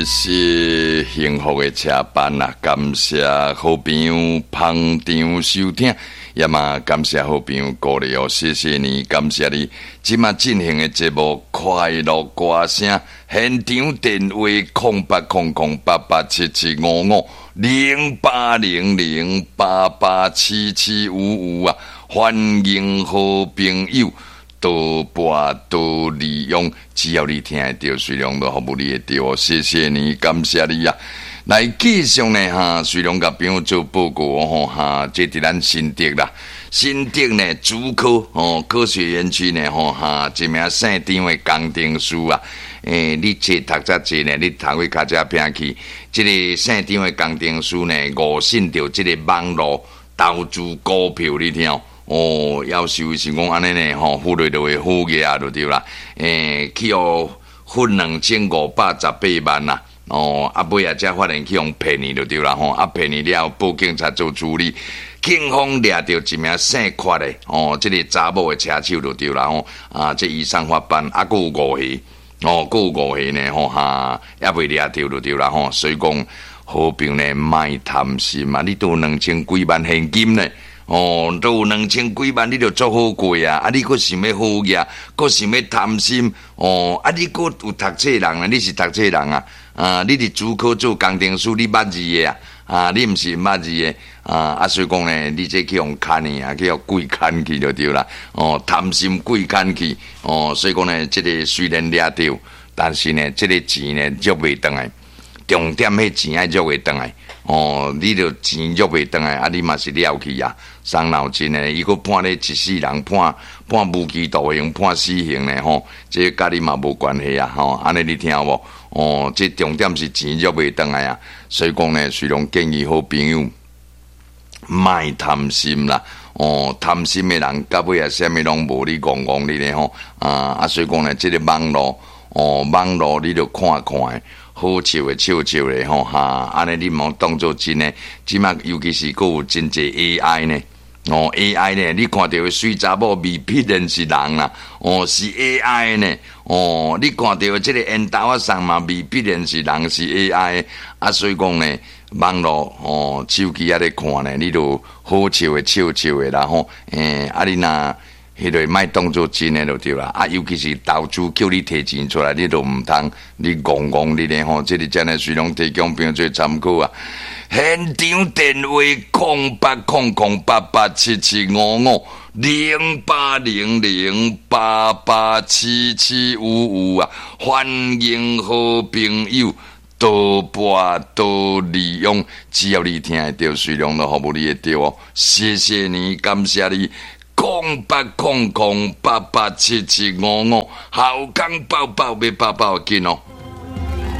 是幸福的車班啊！感謝好朋友捧場收聽，也嘛感謝好朋友鼓勵哦，謝謝你，感謝你。這馬進行的節目《快樂歌聲》，現場電話08008877550800887755啊！歡迎好朋友多撥多利用，只要你聽會著，隨量都服務你會著哦。謝謝你，感謝你啊！來繼續呢哈，隨量共朋友做報告吼哈，這佇咱新竹啦，新竹呢竹科吼科學園區呢吼哈，一名姓張的工程師啊，你冊讀遮濟呢，你讀去較遮偏去，這个姓張的工程師呢，誤信著這个網路投資股票，你聽。哦，夭壽是講按呢呢吼，富來就會好額就對啦。去予罰2518萬啦。哦，啊尾仔才發現去予騙去就對啦吼。啊騙去了後，報警察做處理，警方掠著一名姓郝的哦，這个查某的車手就對啦吼。啊，這移送法辦，啊，閣有五個，哦，閣有五個呢吼哈，猶未掠著就對啦吼。所以講，好朋友呢，莫貪心啊！你都有兩千幾萬現金呢。哦，都有兩千幾萬，你就足好過啊！啊，你閣想欲好額，閣想欲貪心，哦，啊，你閣有讀冊人啊？你是讀冊人啊？啊，你佇竹科做工程師，你捌字的啊？啊，你毋是毋捌字的啊？啊，所以講呢，你這去予牽去啊，去予鬼牽去就對啦。哦，貪心鬼牽去，哦，所以講呢，這个雖然掠著，但是呢，這个錢呢，約袂轉來。重點，彼錢愛約會轉來。哦，你著錢約袂轉來，啊，你嘛是了去啊，傷腦筋的。伊閣判你一世人，判無期徒刑，判死刑呢吼，這佮你嘛無關係啊，吼，按呢你聽無？哦，這重點是錢約袂轉來啊，所以講呢，雖然建議好朋友莫貪心啦，哦，貪心的人到尾啊，啥物攏無，你戇戇你咧吼，啊，所以講呢，這个網路，哦，網路你著看看。好笑的笑笑的吼哈，按呢你毋好當做真的，這馬尤其是閣有真濟 AI 呢，哦 AI 呢，你看著的媠查某未必然是人啦，哦是 AI 呢，哦你看著的這个緣投仔送嘛未必然是人是 AI，啊所以講呢，網路哦手機仔咧看呢，你就好笑的笑笑的啦吼，啊你若。彼个莫當做真的就對啦，啊，尤其是投資叫你提錢出來，你都毋通，你戇戇你咧吼，這个真的隨攏提供朋友做參考啊。現場電話08008877550800887755啊，歡迎好朋友多撥多利用，只要你聽會著，隨攏都服務你會著哦。謝謝你，感謝你。0800887755，好康報報欲報報緊哦。